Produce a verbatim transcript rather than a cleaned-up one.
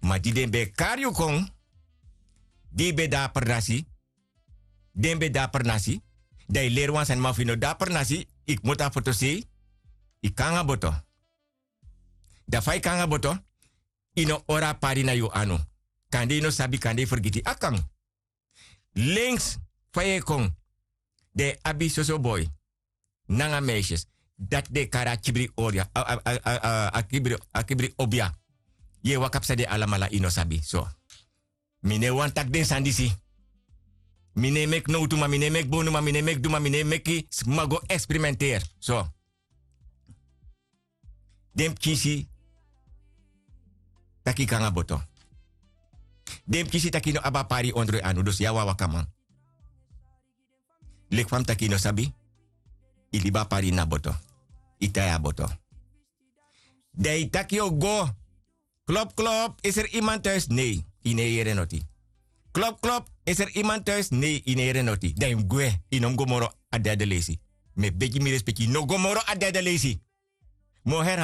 Ma di den ben e kari yu kon, di yu ben de na pernasi, den ben de na pernasi, dan yu leri wan sani, ma fu yu no de na pernasi, yu kmoto na fotosei, yu kon nanga boto. Dan fa yu kon nanga boto, yu no hori a pari na yu anu. Kande yu no sabi, kande yu fergiti, a kan. Lenks fa yu e kon, den e abi soso boi nanga meisjes. Dati den e kari a kibri oria, a, a, a, a, a kibri, a kibri obia. Yu e waka psa den alamala, yu no sabi. So, mi no e wani taki den sani disi. Mi no e meki nowtu, ma mi no e meki bonu, ma mi no e meki duma, mi no e meki sma go eksperimenteri. So, den pikin si taki yu kon nanga boto. Den pikin si taki yu no abi a pari ondro yu anu, dus yu a wan wakaman. Leki fa mi taki, yu no sabi, yu libi a pari ini a boto. Yu tai a boto. Dan yu taki yu o go. Klop, klop, is er iemand thuis? Nee, yu no e yere noti. Klop, klop, is er iemand thuis? Nee, yu no e yere noti. Dan yu mus gwe, yu no mus go moro a derde leisi. Mi e begi, mi respeki, yu no go moro a derde leisi. Mi o herhaal.